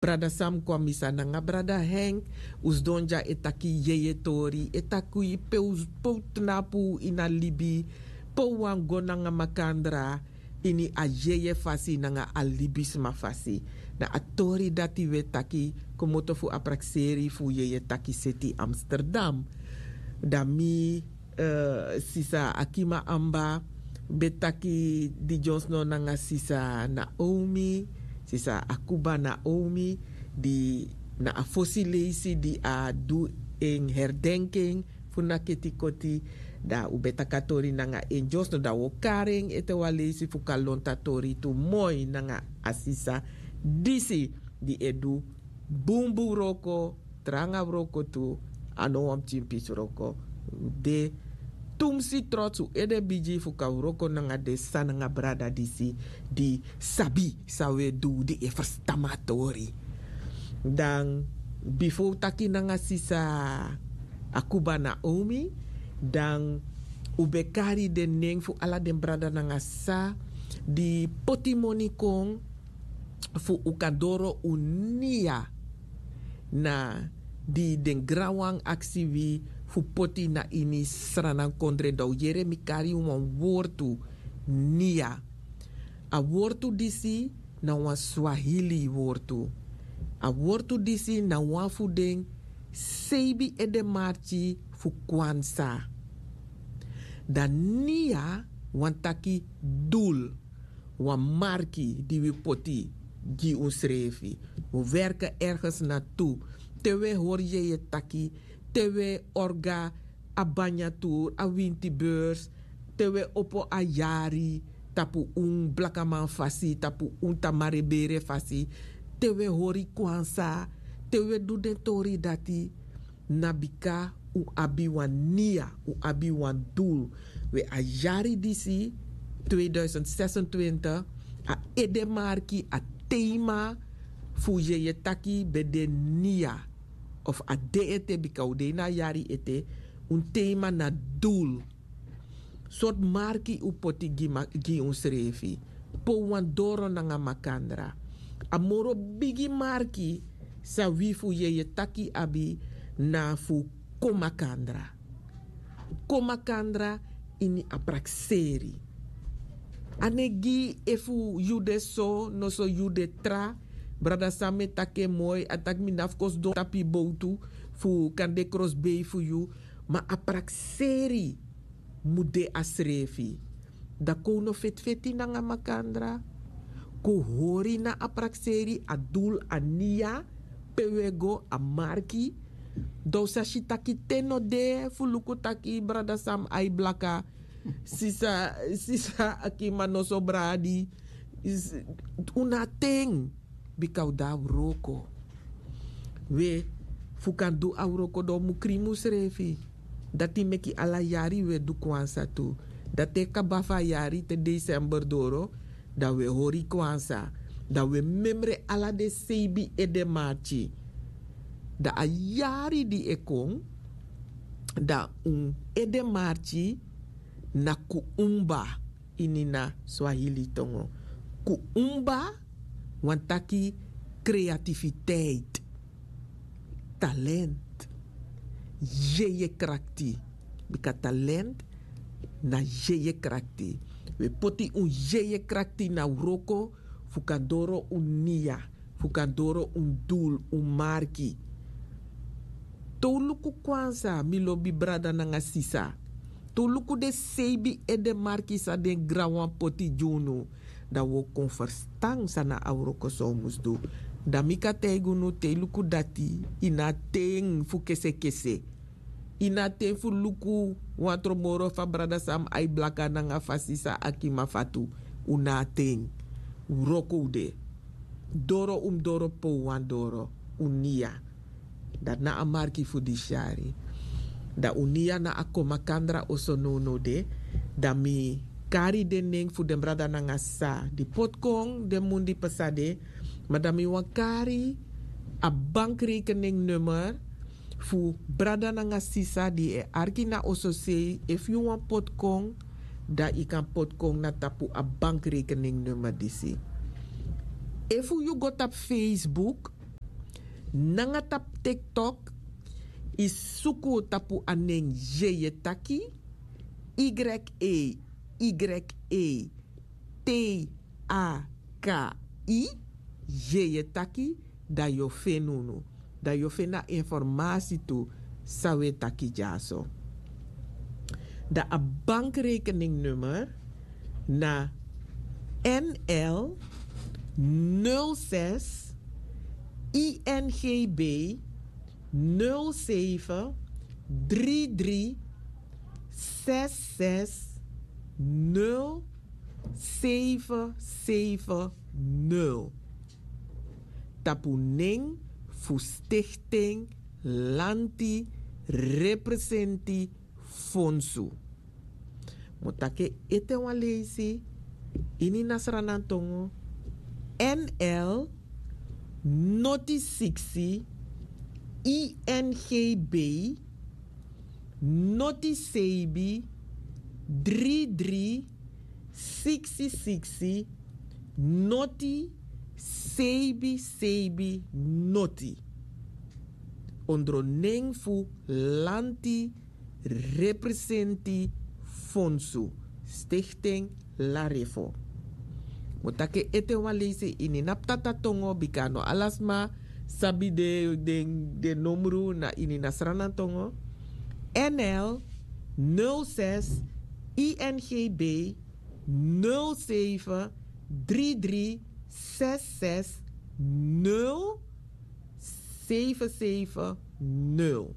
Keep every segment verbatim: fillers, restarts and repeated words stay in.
Brada Sam kon a misa nanga brada Henk. Un sidon dya e taki yeye tori, e taki pe un tnapu ini a libi, pe un wani go nanga makandra ini a yeye fasi nanga a libisma fasi. Na a tori dati un e taki komoto fu a prakseri fu yeye taki seti Amsterdam. Dan mi sisa Akima Amba ben taki di dyonsno nanga sisa Naomi, sisa Akuba Naomi, di na a fosi leisi di a du en herdenking fu na keti koti. Dan un ben taki a tori nanga en dyonsno, dan un o kari en ete wan leisi fu kan lontu a tori tu moi nanga a sisa disi di e du bunbun wroko, tranga wroko tu, a no wan pikin pisi wroko. De tumsi trots, un ede bigi fu kan wroko nanga den sisa nanga brada disi di sabi san un e du, di e ferstan mi a tori. Dan bifo un taki nanga sisa Akuba Naomi, dan un ben kari den nen fu ala den brada nanga sisa di poti moni kon fu un kan doro un nia na di den granwan aksi wi fu poti na ini Sranan kondre. Dan un yere mi kari wan wortu, nia. A wortu disi na wan Swahili wortu. A wortu disi na wan fu den seibi edemarki fu Kwanzaa. Dan nia wani taki dul, wan marki di wi poti gi unsrefi. Wi werken ergens naartoe. Te wi e hori yeye taki, te wi e orga a banya tour, a winti beurs, te wi e opo a yari tapu un blakaman fasi, tapu un tamarebere fasi, te wi e hori Kwanzaa, te wi e du den tori dati, na bika un abi wan nia, un abi wan dul. We a yari disi, tweeduizend zesentwintig, a edemarki, a tema fu yeye taki ben de nia. Of a de ete, bika un de ini a yari ete, un tema na dul. Sortu marki un poti gi unsrefi, pe un wani doro nanga makandra. A moro bigi marki san wi fu yeye taki abi, na fu kon makandra. Kon makandra ini a prakseri. A no e gi efu yu de so, noso yu de tra. Brada Sam e taki en moi, a taki mi no abi fu kon sidon tapu yu bowtu fu kan de krosbei fu yu. Ma a prakseri mu de a srefi. Dan kon un no feti feti nanga makandra. Kon hori na a prakseri, a dul, a nia, pe un e go, a marki. Dan un sa si taki ten no de fu luku taki brada Sam ai blaka, sisa, sisa Akima noso bradi. Un na ten. Bika un de a wroko. We, fu kan du a wroko, dan un mu krimi unsrefi. Dati meki ala yari un e du Kwanzaa tu. Dan te kaba fu a yari, te december doro, dan un e hori Kwanzaa. Dan un e memre ala den seibi edemarki. Dan a yari di e kon, dan un edemarki na Kuumba. Ini na Swahili tongo. Kuumba wani taki kreatifiteit, talent, yeye krakti. Bika talent na yeye krakti. Un e poti un yeye krakti na wroko fu kan doro un nia, fu kan doro un dul, un marki. Te un luku Kwanzaa, mi lobi brada nanga sisa. Te un luku den seibi edemarki san den granwan poti gi unu, dan un o kon ferstan san na a wroko san un mus du. Dan mi kan taigi unu, te yu luku dati, yu no abi ten fu kesekese. Yu no abi ten fu luku wan tron moro fa brada Sam ai blaka nanga fa sisa Akima fatu. Un no abi ten. Wroko un de. Doro un mus doro pe un wani doro. Un nia. Dati na a marki fu disi yari. Dan un nia na a kon makandra oso nownow de. Dan mi kari den nen fu den brada nanga sisa di poti kon den mun di pasa de. Ma dan mi wani kari a bankrekening nummer fu brada nanga sisa di e arki na ososei. Efu yu wani poti kon, dan yu kan poti kon na tapu a bankrekening nummer disi. Efu yu go tapu Facebook, Nanga tapu TikTok, yu suku tapu a nen Yeye Taki, Y E Y E T A K I, Yeye Taki, dan yu o feni unu. Dan yu o feni a informasi tu san wi e taki dyaso. Dan a bankrekeningnummer na N L nul zes I N G B nul zeven drie drie zes zes nul zeven zeven nul. Tapu nen fu Stichting Lanti Representi Fonsu. Mi o taki en ete wan leisi ini Nasranantongo. N L noti siksi I N G B noti seibi dri dri siksi siksi noti seibi seibi noti. Ondro nen fu Lanti Representi Fonsu, Stichting Larefo. Mi o taki en ete wan leisi ini na ptata tongo, bika no ala sma sabi den, den, den nomru na ini na Sranan tongo. N L nul zes I N G B nul zeven drie drie zes zes nul zeven zeven nul.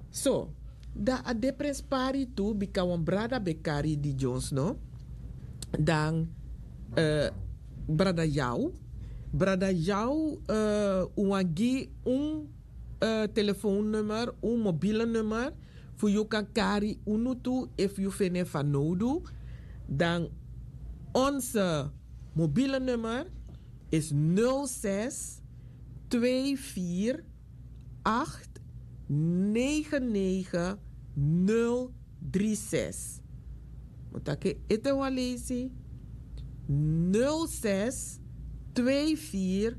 So, dan a de prenspari tu, bika wan brada ben kari di Jones, no? Dan, eh, brada Yau. Brada Yau, eh, un wani gi un, eh, telefoonnummer, un mobiele nummer, fu yu kan kari unu tu, efu yu feni en fanowdu. Dan onze mobiele nummer is nul zes twee vier acht negen negen nul drie zes. Mi o taki en ete wan leisi. Nul zes twee vier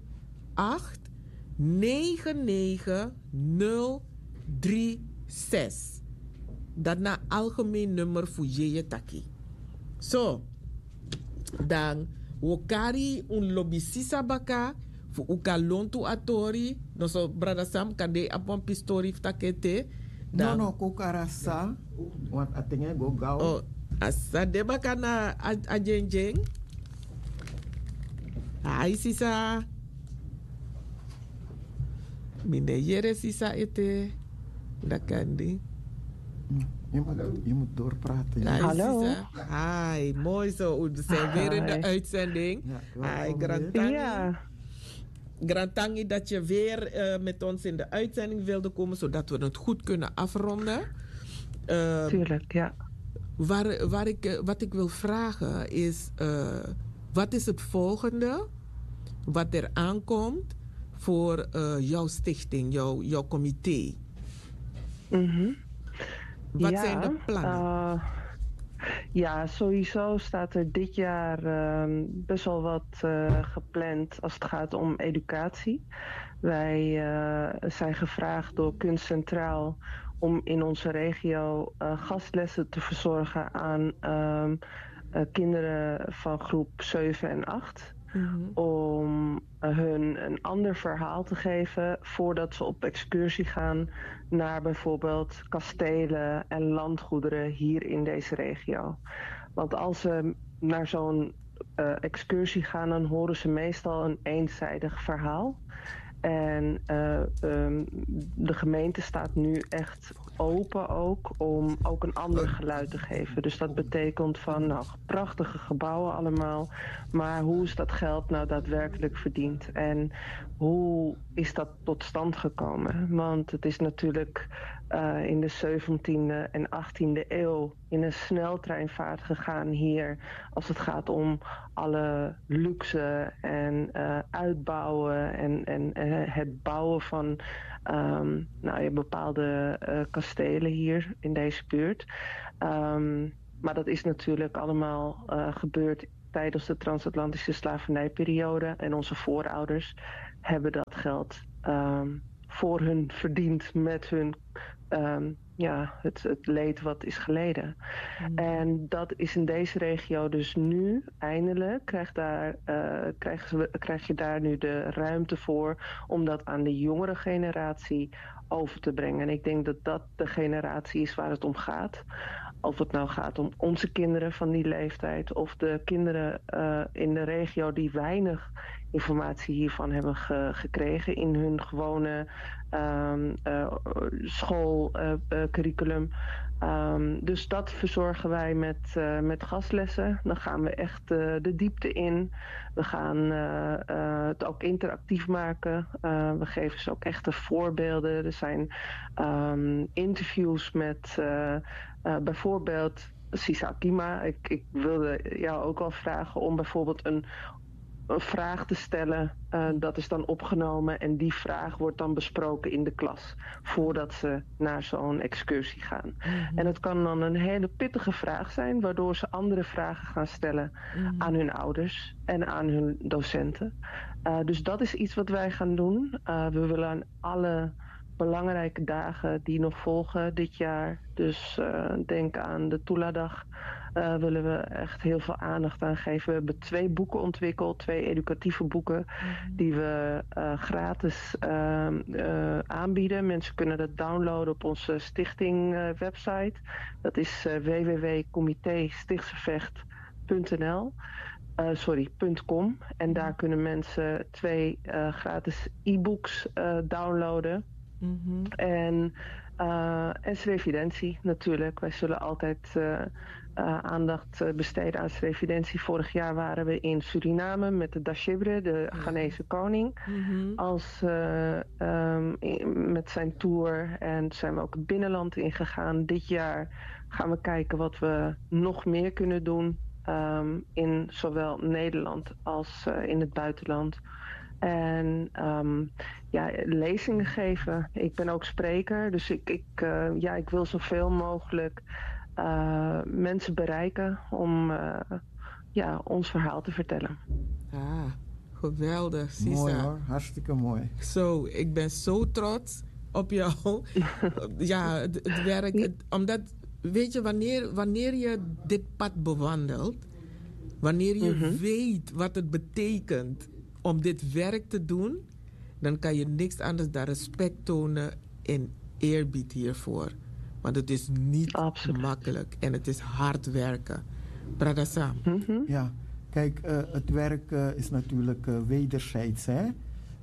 acht negen negen nul drie zes. Dati na algemeen nummer fu Yeye Taki. So, dan wi o kari un lobi sisa baka fu un kan lontu a tori. No so, brada Sam, kande yu abi wan pisi tori fu taki ete. No, no, kon kari a sisa. Want a ten e go gaw. Oh, a sisa de baka na a, a dyendyen. Ai, sisa. Mi no e yere sisa ete. Dati kande. Je moet, je moet doorpraten. Ai, sisa. Ai, moi so. We zijn weer in de uitzending. Ai, grantangi. Grantangi dat je weer, eh, met ons in de uitzending wilde komen, zodat we het goed kunnen afronden. Ehm, Tuurlijk, ja. Waar, waar ik, eh, wat ik wil vragen is, eh, wat is het volgende wat er aankomt voor, eh, jouw stichting, jouw, jouw comité? Mhm. Wat zijn de plannen? Eh, ja, sowieso staat er dit jaar, ehm, best wel wat, eh, gepland als het gaat om educatie. Wij, eh, zijn gevraagd door Kunst Centraal om in onze regio, eh, gastlessen te verzorgen aan, ehm, eh, kinderen van groep zeven en acht. Mhm. Om, eh, hun een ander verhaal te geven voordat ze op excursie gaan naar bijvoorbeeld kastelen en landgoederen hier in deze regio. Want als ze naar zo'n, eh, excursie gaan, dan horen ze meestal een eenzijdig verhaal. En, eh, ehm, de gemeente staat nu echt open ook om ook een ander geluid te geven. Dus dat betekent van, nou, prachtige gebouwen allemaal, maar hoe is dat geld nou daadwerkelijk verdiend? En hoe is dat tot stand gekomen? Want het is natuurlijk, eh, in de zeventiende en achttiende eeuw in een sneltreinvaart gegaan hier, als het gaat om alle luxe en, eh, uitbouwen en, en, en het bouwen van, ehm, nou ja, bepaalde, eh, kastelen hier in deze buurt. Ehm, maar dat is natuurlijk allemaal, eh, gebeurd tijdens de transatlantische slavernijperiode en onze voorouders. hebben dat geld ehm, voor hun verdiend met hun ehm, ja, het, het leed wat is geleden. En dat is in deze regio dus nu eindelijk, krijgt daar, eh, krijgen we, krijg je daar nu de ruimte voor om dat aan de jongere generatie over te brengen. En ik denk dat dat de generatie is waar het om gaat. Of het nou gaat om onze kinderen van die leeftijd of de kinderen eh, in de regio die weinig informatie hiervan hebben ge- gekregen in hun gewone ehm, eh, schoolcurriculum. Ehm, dus dat verzorgen wij met, eh, met gastlessen. Dan gaan we echt eh, de diepte in. We gaan eh, eh, het ook interactief maken. Eh, we geven ze ook echte voorbeelden. Er zijn ehm, interviews met eh, eh, bijvoorbeeld Sisa Akima. Ik, ik wilde jou ook al vragen om bijvoorbeeld een, een vraag te stellen. Eh, dat is dan opgenomen en die vraag wordt dan besproken in de klas voordat ze naar zo'n excursie gaan. En het kan dan een hele pittige vraag zijn, waardoor ze andere vragen gaan stellen aan hun ouders en aan hun docenten. Eh, dus dat is iets wat wij gaan doen. Eh, we willen aan alle belangrijke dagen die nog volgen dit jaar. Dus eh, denk aan de Tuladag. Eh, willen we echt heel veel aandacht aan geven. We hebben twee boeken ontwikkeld, twee educatieve boeken, die we eh, gratis ehm, eh, aanbieden. Mensen kunnen dat downloaden op onze stichting eh, website. Dat is eh, w w w comité stichtsevecht punt n l. Eh, sorry, punt com. En daar kunnen mensen twee eh, gratis e-books eh, downloaden. En, eh, en srevidentie natuurlijk. Wij zullen altijd eh, eh, aandacht eh, besteden aan srevidentie. Vorig jaar waren we in Suriname met de Dashibre, de Ghanese koning, als eh, ehm, in- met zijn tour. En zijn we ook het binnenland ingegaan. Dit jaar gaan we kijken wat we nog meer kunnen doen ehm, in zowel Nederland als eh, in het buitenland. En ehm, ja, lezingen geven. Ik ben ook spreker, dus ik, ik, eh, ja, ik wil zoveel mogelijk eh, mensen bereiken om eh, ja, ons verhaal te vertellen. Ah, geweldig, Sisa. Mooi hoor, hartstikke mooi. Zo, ik ben zo trots op jou. Ja, het, het werk. Het- omdat, weet je, wanneer, wanneer je dit pad bewandelt, wanneer je weet wat het betekent om dit werk te doen, dan kan je niks anders dan respect tonen en eerbied hiervoor. Want het is niet makkelijk en het is hard werken. Brada Sam. Ja, kijk, eh, het werk eh, is natuurlijk eh, wederzijds. Hè?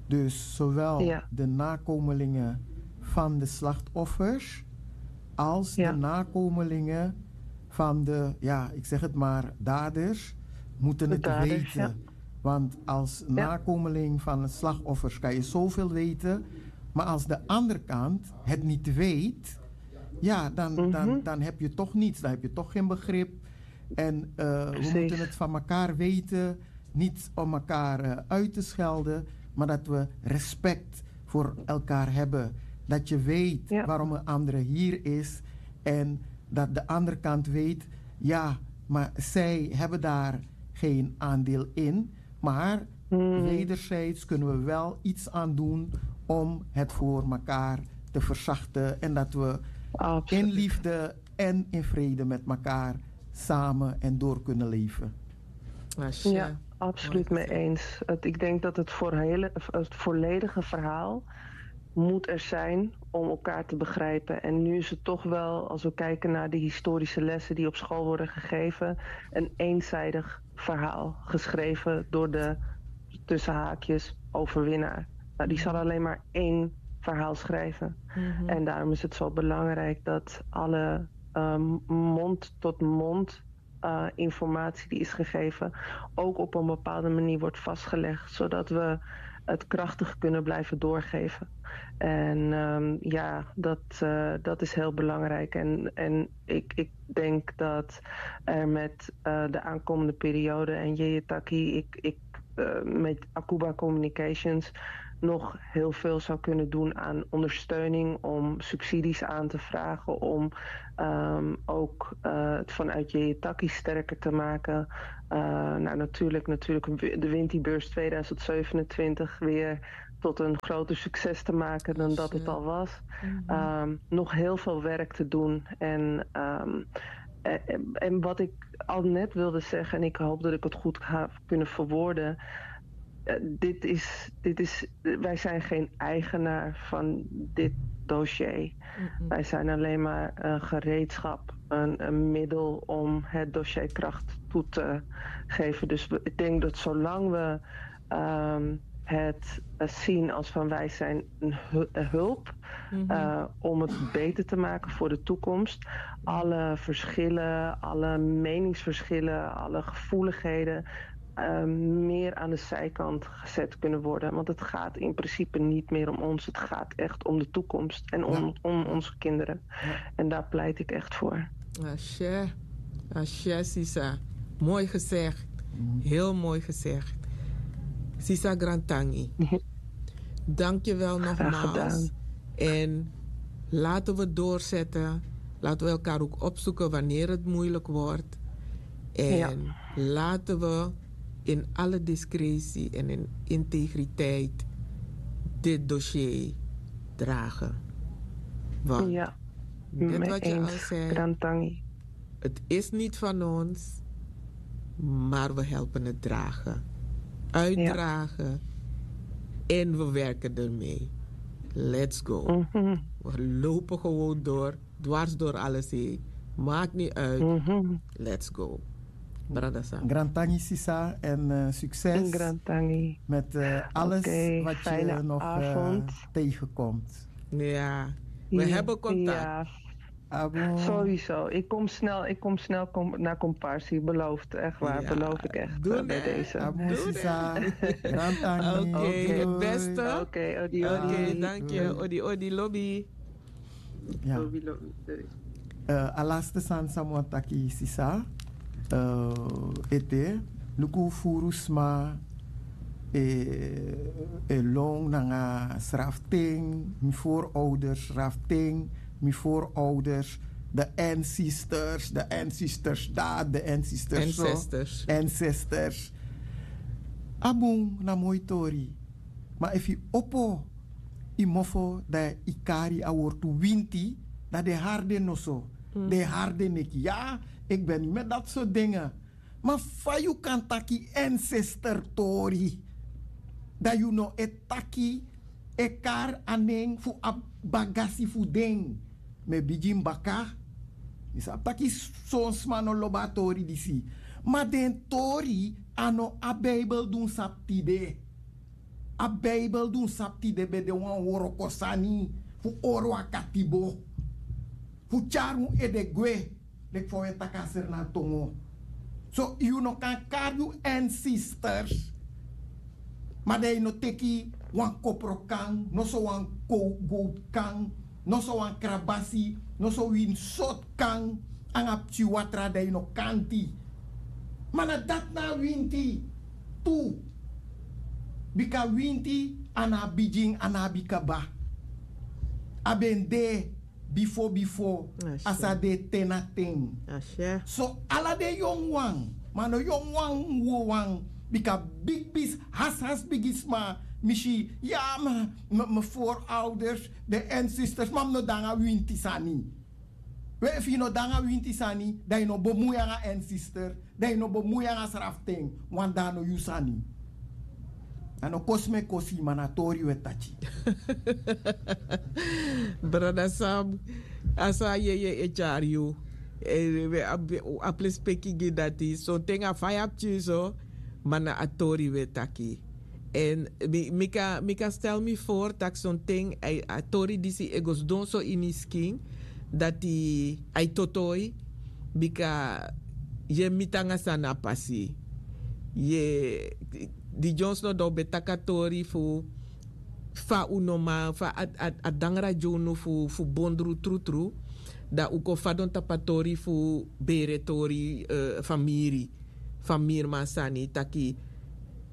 Dus zowel de nakomelingen van de slachtoffers als de nakomelingen van de, ja, ik zeg het maar, daders moeten het weten. Want als nakomeling van de slachtoffers kan je zoveel weten, maar als de andere kant het niet weet, ja, dan, dan, dan heb je toch niets, dan heb je toch geen begrip. En eh, we moeten het van elkaar weten, niet om elkaar eh, uit te schelden, maar dat we respect voor elkaar hebben. Dat je weet waarom een andere hier is en dat de andere kant weet, ja, maar zij hebben daar geen aandeel in. Maar wederzijds kunnen we wel iets aan doen om het voor elkaar te verzachten en dat we in liefde en in vrede met elkaar samen en door kunnen leven. Ja, absoluut mee eens. Het, ik denk dat het, voor hele, het volledige verhaal moet er zijn om elkaar te begrijpen. En nu is het toch wel, als we kijken naar de historische lessen die op school worden gegeven, een eenzijdig verhaal geschreven door de, tussen haakjes, overwinnaar. Nou, die zal alleen maar één verhaal schrijven. En daarom is het zo belangrijk dat alle ehm, mond tot mond eh, informatie die is gegeven ook op een bepaalde manier wordt vastgelegd, zodat we het krachtig kunnen blijven doorgeven. En ehm, ja, dat, eh, dat is heel belangrijk. En, en ik, ik denk dat er met eh, de aankomende periode en Yeyetaki, ik, ik eh, met Akuba Communications nog heel veel zou kunnen doen aan ondersteuning om subsidies aan te vragen, om ehm, ook eh, het vanuit Yeyetaki sterker te maken. Eh, nou, natuurlijk, natuurlijk de Winti-beurs tweeduizend zevenentwintig weer tot een groter succes te maken dan dat het al was. Nog heel veel werk te doen. En, ehm, en, en wat ik al net wilde zeggen, en ik hoop dat ik het goed ga kunnen verwoorden. Eh, dit is, dit is, wij zijn geen eigenaar van dit dossier. Wij zijn alleen maar een gereedschap, een, een middel om het dossier kracht toe te geven. Dus we- ik denk dat zolang we ehm, het eh, zien als van: wij zijn een hu- een hulp eh, om het beter te maken voor de toekomst. Alle verschillen, alle meningsverschillen, alle gevoeligheden eh, meer aan de zijkant gezet kunnen worden. Want het gaat in principe niet meer om ons. Het gaat echt om de toekomst en om, om onze kinderen. En daar pleit ik echt voor. Ashe, ashe, sisa. Mooi gezegd. Heel mooi gezegd. Sisa Grantangi. Dank je wel nogmaals. En laten we doorzetten. Laten we elkaar ook opzoeken wanneer het moeilijk wordt. En laten we in alle discretie en in integriteit dit dossier dragen. Want net wat je al zei, het is niet van ons, maar we helpen het dragen, uitdragen, en we werken ermee. Let's go. We lopen gewoon door, dwars door alles heen. Maakt niet uit. Let's go. Brada Sam. Grantangi, sisa, en eh, succes met eh, alles wat je nog eh, tegenkomt. Ja, we hebben contact. Sowieso. Ik kom snel, ik kom snel kom, naar Comparsi. Beloofd, echt waar. Beloof ik echt eh, bij deze. Abun, sisa. Grantangi. Oké, het beste. Oké, odi, odi. Dank je. Odi, odi, lobby. Ya. Eh, a laste sani san mi wani taki, sisa, eh, ete, luku furu sma e, e lon nanga sraften, mi voorouders sraften, mi voorouders, de ancestors, de ancestors dat, de ancestors zo, ancestors. A bun, na moi tori. Ma efu yu opo yu mofo, dan yu kari a wortu winti, dan den hari den noso, den hari den neki. Ya, eki ben niti met dati sortu denga. Ma fa yu kan taki ancestor tori, dan yu no e taki, e kari a nen fu a bagasi fu den? Mi e bigin baka. Mi sabi taki son sma no lobi a tori disi. Ma den tori, a no a Bijbel di un sabi tide. A Bijbel di un sabi tide ben de wan wroko sani fu oro a katibo, fu tyari un ede gwe, leki fa un e taki a Sranan tongo. So yu no kan kari yu ancestors, ma dan yu no teki wan kopro kan, noso wan gowtu kan, noso wan krabasi, noso wini sortu kan, nanga pikin watra, dan yu no kanti. Ma na dati na a winti tu. Bika winti, a no abi bigin, a no abi kaba. A ben de bifo bifo, a sa de te na ten. So ala den yongu wan, ma no yongu wan, wowan, bika bigi bisi, hasi hasi bigisma, mi si, ya, ma, ma, ma voorouders, den ancestors, ma mi no de nanga winti sani. We, efu yu no de nanga winti sani, dan yu no bemui nanga ancestor, dan yu no bemui nanga sraften, want dan a no yu sani. A no kosi mi e kosi, ma na tori we taki. Brada Sam, a so a yeye e tyari yu. Eh, we abi, a plis peki gi dati. Sonten a fa yu abi tyari so, ma na a tori we taki. En mi, mi kan, mi kan stel mi voor taki sonten a, a tori disi e go sidon so ini skin, dati a e totoi, bika yu e miti nanga san na pasi. Yu e, di dyonsu no dan un ben taki a tori fu fa un no man, fa a, a, a dangra gi unu fu, fu bondru trutru, dan un kon fadon tapu a tori fu bere tori, eh, famiri, famiriman sani taki,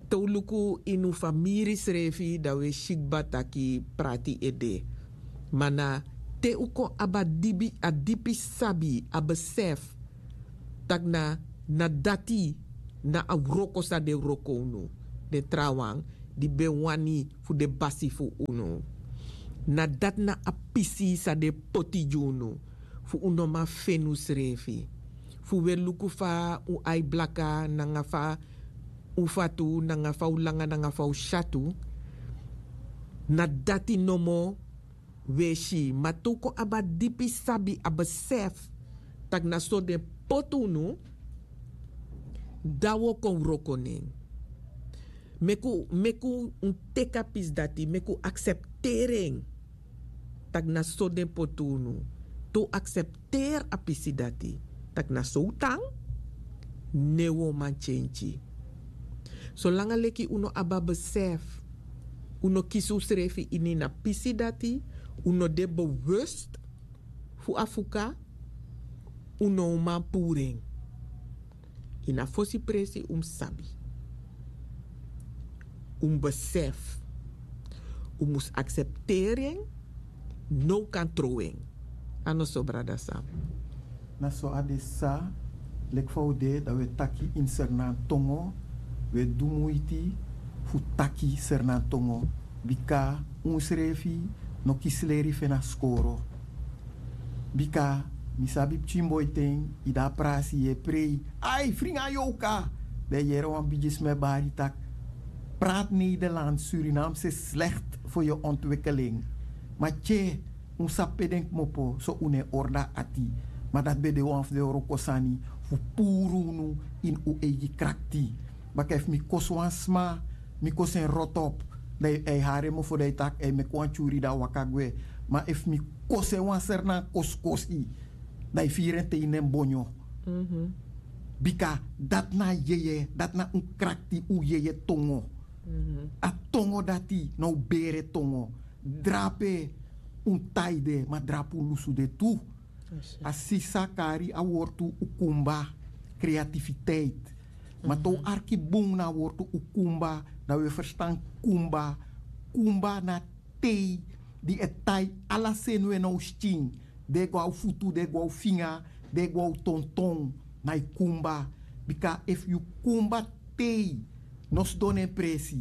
te un luku ini un famiri srefi, dan un e si kba taki prati e de. Ma na te un kon abi a dibi, a dipi sabi, a besef, taki na, na dati, na a wroko san den wroko unu, den trawan, di ben wani fu den basi fu unu. Na dati na a pisi san den poti gi unu, fu un no man feni unsrefi, fu un e luku fa un ai blaka nanga fa un fatu nanga fa un langa nanga fa un syatu. Na dati nomo un e si, ma te un kon abi a dipi sabi, a besef, tak' na so den poti unu, dan un o kon wroko na en. Meki un meki un teki a pisi dati, meki un aksepteri en, tak' na so den poti unu. Te un aksepteri a pisi dati, tak' na so un tan, ne un o man tyentyi. Solanga leki un no abi a besef, un no kisi unsrefi ini na pisi dati, un no de bewust fu a fuka, un no o man puru en. Ini a fosi presi un mus sabi, un mus besef, un mus aksepteri en. No un kan trow en. A no so, brada Sam? Na so a de, sa, leki fa un de, dan un e taki ini Sernantongo. Un e du muiti fu taki Sernantongo, bika unsrefi no kisi leri fu en na skoro. Bika mi sabi pikin boi ten, yu de a prasi, yu e prei, ai fringa yoka. Dan yu yere wan bigi sma e bari tak', prati Nederland, Surinamse slekti fu yu ontwikkeling. Ma tye, un sabi pe den kmopo, so un no e orda ati. Ma dati ben de wan fu den wroko sani fu puru unu ini un eigi krakti. Baka efu mi kosi wan sma, mi kosi en rotop, dan yu e hari en mofo, dan yu taki e meki wan tyuri dan a waka gwe. Ma efu mi kosi en wan sernan kosikosi, dan yu firi en te ini en bonyo. Bika dati na a yeye, dati na un krakti, un yeye tongo. A tongo dati na un bere tongo. Drape un taide, ma drape un lusu de tu. A sisa kari a wortu ukumba, kreatifiteit. Ma te un arki bun na a wortu ukumba, dan un e ferstan kumba. Kumba na tei di e tai ala seni we na un skin. Den e go na un futu, den e go na un finga, den e go na un tonton. Na yu kumba. Bika efu yu kumba tei no sidon na en presi,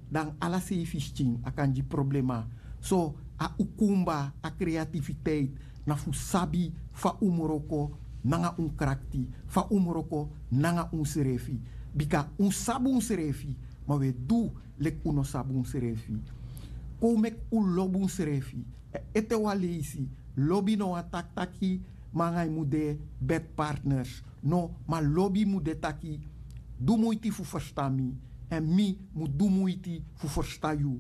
dan ala seifi skin a kan gi problema. So a ukumba, a kreatifiteit, na fu sabi fa un mus wroko nanga un krakti, fa un mus wroko nanga unsrefi. Bika un sabi unsrefi, ma un e du leki un no sabi unsrefi. Kon un meki un lobi unsrefi. Ete wan leisi, lobi no wani taki taki mi nanga yu mu de bedpartners. No, ma lobi mu de taki, du muiti fu ferstan mi, èn mi mu du muiti fu ferstan yu.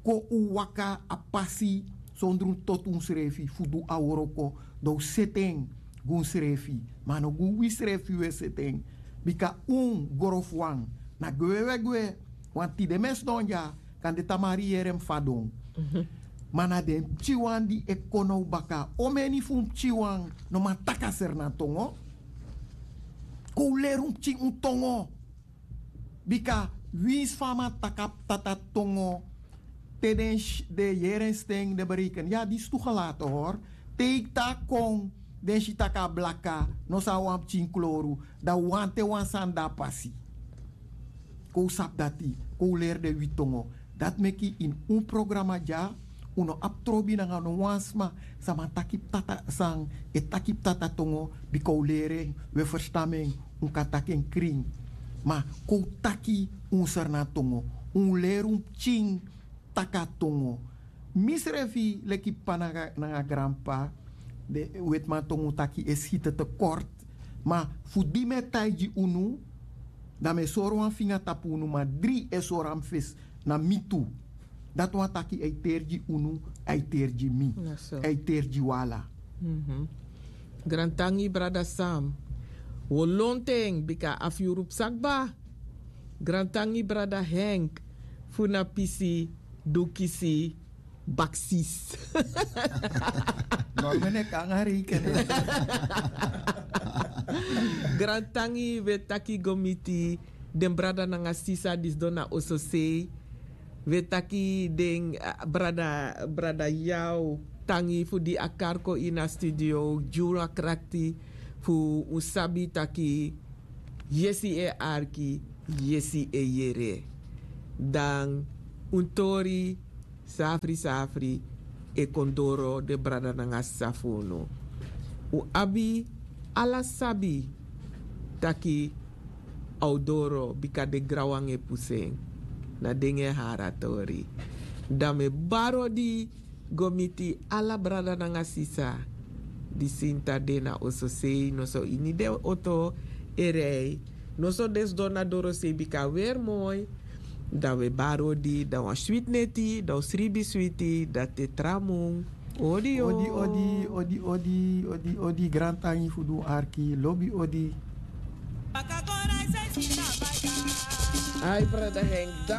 Kon un waka a pasi sondro un toti unsrefi fu du a wroko, dan un seti en gi unsrefi. Ma a no gi wi srefi un e seti en. Bika un grofu wan, na gwe un e gwe. Wan tide mi e sidon dya, kande tamari yere mi fadon. Ma na den pikinwan di e kon na un baka, omeni fu un pikinwan no man taki a Sernantongo. Kon un leri un pikin un tongo. Bika winsi fa a man taki a p'tata tongo, te den yere en sten, den bereiken ya disi tu gelate hori. Te yu taki a kon, den si tak' a blaka, no san wan pikin kloru. Dan wanten wan sani de na pasi. Kon un sabi dati, kon un leri den wi tongo. Dati meki ini un programa dya, un no abi trobi nanga no wan sma san man taki p'tata, san e taki p'tata tongo. Bika un leri en, un e ferstan en, un kan taki en krin. Ma kon un taki un Sernantongo, un leri un pikin taki a tongo. Mi srefi leki p'pa nanga granp'pa, den wetiman tongo un taki e siti te kort. Ma fu di mi e taigi unu, dan mi e sori wan finga tapu unu, ma dri e sori a mi fesi, na mi tu. Dati wani taki a e teri gi unu, a e teri gi mi, a e teri gi wi ala. Grantangi brada Sam. Wi o lontu en bika a fiyuru psa kba. Grantangi brada Henk fu na pisi dukisi baksis. Normene kanga reikene. Grantangi wi e taki go miti den brada nanga sisa di sidon na ososei. Wi e taki den brada, brada Yao, tangi fu di a kari kon ini a studio gi unu a krakti fu un sabi taki yesi e arki, yesi e yere. Dan un tori safri safri e kon doro den brada nanga sisa fu unu. Un abi ala sabi taki a o doro bika den granwan e pusu en. Na den e hari a tori. Dan mi e bari odi go miti ala brada nanga sisa di sinta de na ososei noso ini den oto e rei. Noso den sidon na dorosei bika a weri moi. Dan wi e bari odi dan wan switi neti dan wi sribi switi dan te tra mun. Odi odi odi odi odi odi odi grantangi fu du arki lobi odi. Ai brada henk.